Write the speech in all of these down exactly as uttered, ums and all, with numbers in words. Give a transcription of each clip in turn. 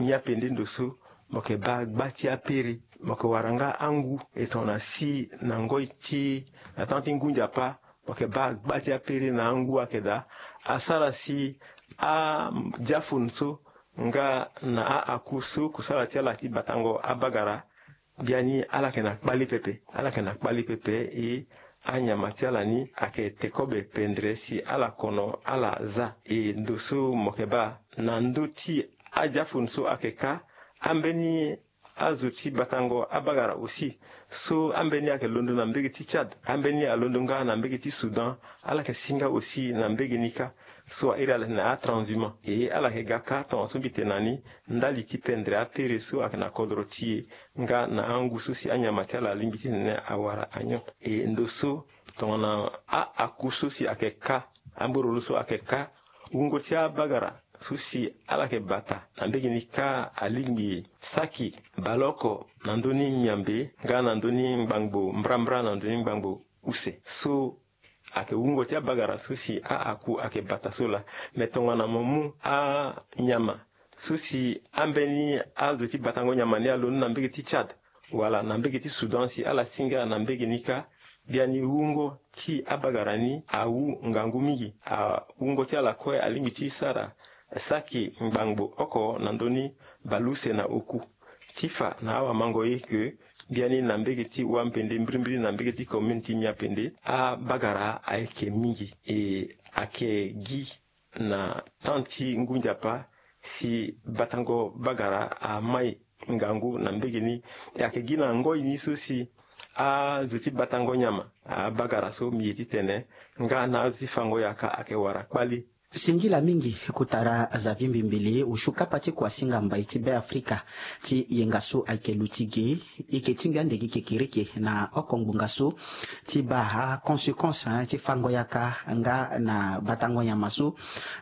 Miapende ndo so mo yeke baa gba ti apere, mo yeke wara nga angu e tongana si na ngoi ti na temps ti ngu nzapa, mo yeke baa gba ti apere na angu ayeke daa. Asara si adiafun so nga na a-aku so kusala ti ala ti batango abagara, biani ala yeke na kpali pepe. Ala yeke na kpali pepe. E anyama ti ala ni ayeke te kobe pendere si ala kono ala za. E ndo so mo yeke baa na ndö ti adiafun so ayeke ka, ambeni azo ti batango abagara aussi, so ambeni ayeke londo na mbege ti Tchad, ambeni alondo nga na mbege ti Soudan, ala yeke si nga aussi na mbege ni kâ. So a iri ala na atranshumant. E ala yeke ga kâ tongaso mbi tene na ni, ndali ti pendere apere so ayeke na kodro ti e nga na angu so si anyama ti ala alingbi titene awara anyon. E ndo so tongana a-aku so si ayeke ka, ambororo so ayeke ka, wungo ti abagara so si ala yeke bata na mbege ni kâ alingbi saki baleoko na ndö ni miambe nga na ndö ni ngbangbo mbrambra na ndö ni ngbangbo use. So ayeke wungo ti abagara so si a-aku ayeke bata so laa. Me tongana mo mu anyama so si ambeni azo ti batango nyama ni alondo na mbege ti Tchad wala na mbege ti Soudan si ala si nga na mbege ni kâ, biani wungo ti abagara ni awu ngangu mingi. A wungo ti ala kue alingbi ti sara saki ngbangbo oko na ndö ni baleuse na oku. Ti fa na awamango ye ke biani na mbege ti Wampende, mbirimbiri na mbege ti commune ti Miapende, abagara ayeke mingi. E ayeke gi na temps ti ngu nzapa si batango bagara amai ngangu na mbege ni. E ayeke gi na ngoi ni so si azo ti batango nyama, abagara so mbi ye titene nga na azo ti fango yaka ayeke wara kpali. Singila mingi kota ra Xavier Mbembele, osio kapa ti kuasinga mbai ti Beafrika ti yenga so ayeke luti ge. E yeke tingbi ande gi kekereke na oko ngbonga so ti baa aconséquence, hein, ti fango yaka nga na batango nyama so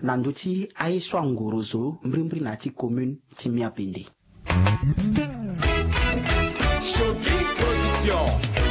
na ndö ti aye so angorozo mbirimbiri na ya ti commune ti Miapende. Choc Production.